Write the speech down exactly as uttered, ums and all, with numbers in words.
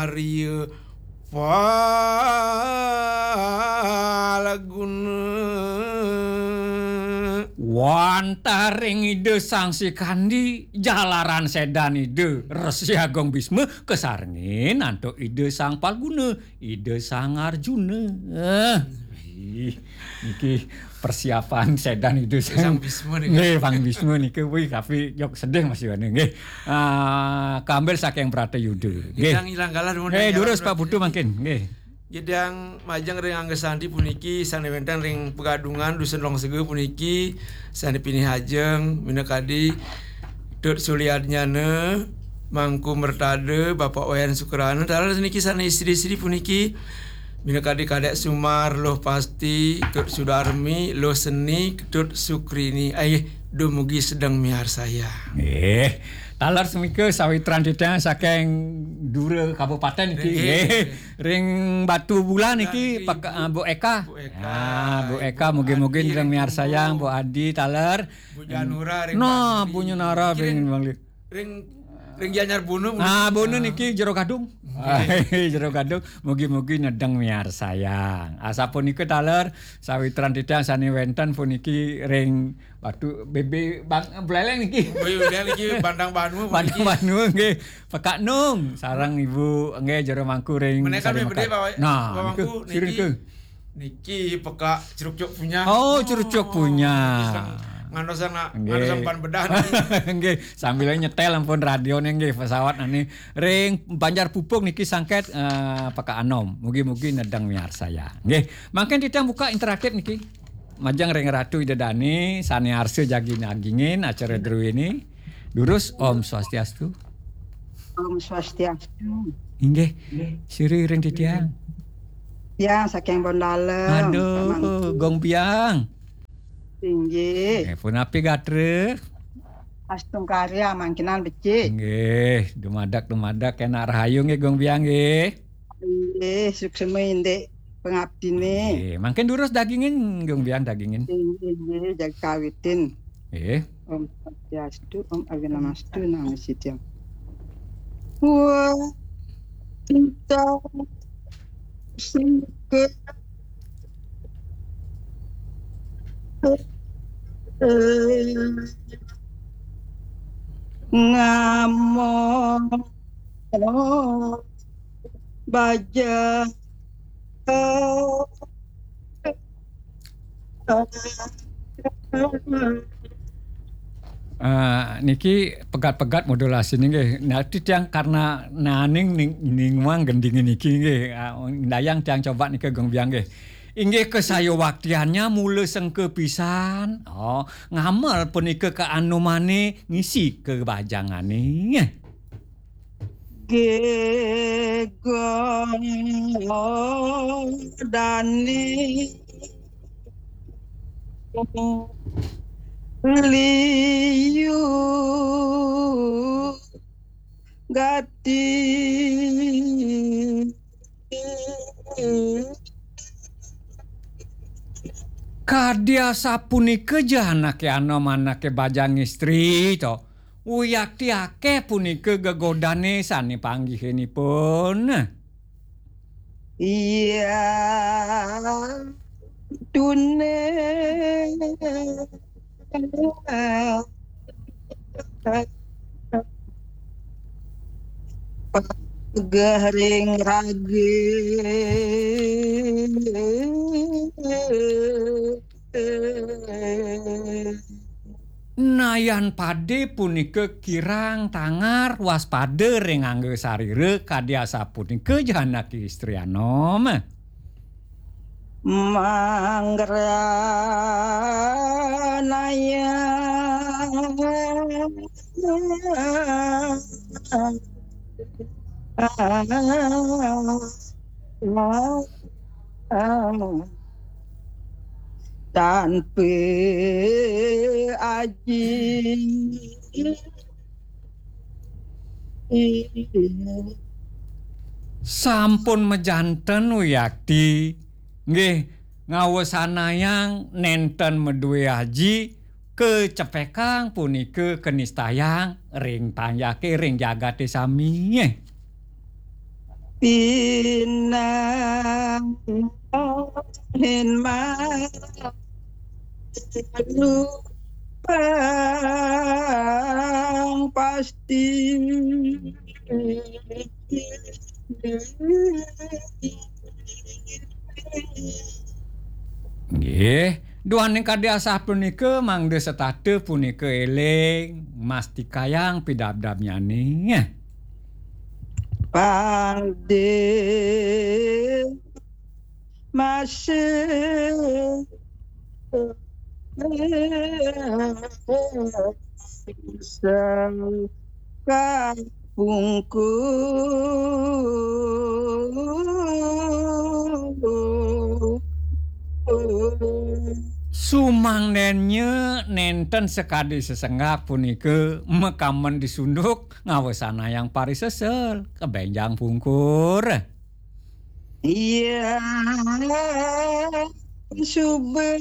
Arya Palguna. Wantah ring Ida Sang Sikandi, jalaran sedan Ida Resi Agung Bisma, kasarengin antuk Ida Sang Palguna, Ida Sang Arjuna. Eh, ih, niki persiapan sedan Ida Sang Sang Bisma nika. Nggih, Sang Bisma nika, wih, tapi jok sedih masih ana, nggih. Ah, kambil saking Bratayuda. Nggih. Gedang ilang galah nuwun. Nggih, durus, Pak Putu, mangkin. Nggih. Gedang majeng ring Angga Sandi puniki, sane wenten ring Pegadungan, Dusun Longsega puniki, sane pinih ajeng, minakadi Tut Suliadnyana, Mangku Mertada, Bapak Wayan Sukrana, taler niki sane istri-istri puniki, minakadi Kadek Sumar, Luh Pasti, Tut Sudarmi, Luh Seni, Tut Sukrini. Ai, dumugi sedeng miarsayang. Nggih. Taler semika sawitran titiang saking Dura Kabupaten niki. Nggih. Nggih. Ring Batu Bulan niki, niki, Pak, Bu, ah, Bu Eka. Bu Eka. Ah, Bu Eka, mugi-mugi sedeng miarsayang, Bu Adi, taler. Bu Janura ring Bangli. Bu Janura ring Bangli. Ring, ring Gianyar Bunu. Ah, Bunu niki Jero Gadung. Nggih. Jero Gadung. Mugi-mugi sedeng miarsayang. Asapunika taler sawitran titiang sane wenten puniki ring Batu Bebe Bang Buleleng niki. Bebe Buleleng niki, Bandang Banua puniki. Bandang Banua nggih. Pekak Nung sareng Ibu nggih Jero Mangku ring Menika Sari Mekar. Pak, nah, Pak Mangku, niki sira niki. Niki pekak Cerucuk Punyah. Oh, Cerucuk Punyah. Niki sedeng ngantos ngantos pan bedah niki. Nggih, sambil nyetel ampun radione nggih pesawat nani ring Banjar Pupung niki sangket, eh, pekak anom. Mugi-mugi sedeng miarsayang. Nggih, mangkin titiang buka interaktif niki. Majeng ring Ratu Ida Dane sane arsa jagi nagingin acara druene. Durus, Om Swastiastu. Om Swastiastu. Inggih. Sira ring titiang. Tiang saking Bondalem, aduh, Pak Mangku. Gong Biang. Inggih. Eh, punapi gatra? Astungkarya mangkinan becik. Inggih, dumadak-dumadak enak rahayu nggih Gong Biang nggih. Inggih, suksma indik pengabdine. Nggih, mangkin durus dagingin, Gong Biang dagingin. Inggih, inggih, jaga kawitin. Nggih. Om Swastiastu, Om Awinamastu, Namo Siddham. Wah, kita singke ngamo baja. Ah, niki pegat-pegat modulasi nggih. Nah, titiang karena naning ning-, ninguang gendinge niki nggih. Ah, ndayang tiang coba nika Gong Biang nggih. Inggih kasayuwaktiannya mula sengka pisan. Oh, ngamel punika kaanumane ngisi kabajangane. Gegong dani liu gati. Kadi asapunika ja anake anom, anake bajang istri to. Uyakti akeh punika gegodane sane panggihinipun. Iya, tune. Pageh ring rage. Nayan pade punika kirang tangar waspada ring angga sarira, kadi asapunika ja anake istri anom. Manggranaya tanpa aji. Sampun majanten wiakti, nggih, ngawesanayang nenten madue aji, kacepekang punika kanistayang ring panjake ring jagate sami. Pinahin malupang pasti. Nggih, duaning kadi asapunika mangda setata punika eling, mastikayang pidabdabnyane. Pangde masih kapungkur. Sumangdennya nenten sakadi sesenggak punika makamen disunduk ngawesanayang parisesel kabenjang pungkur. Iya, suba.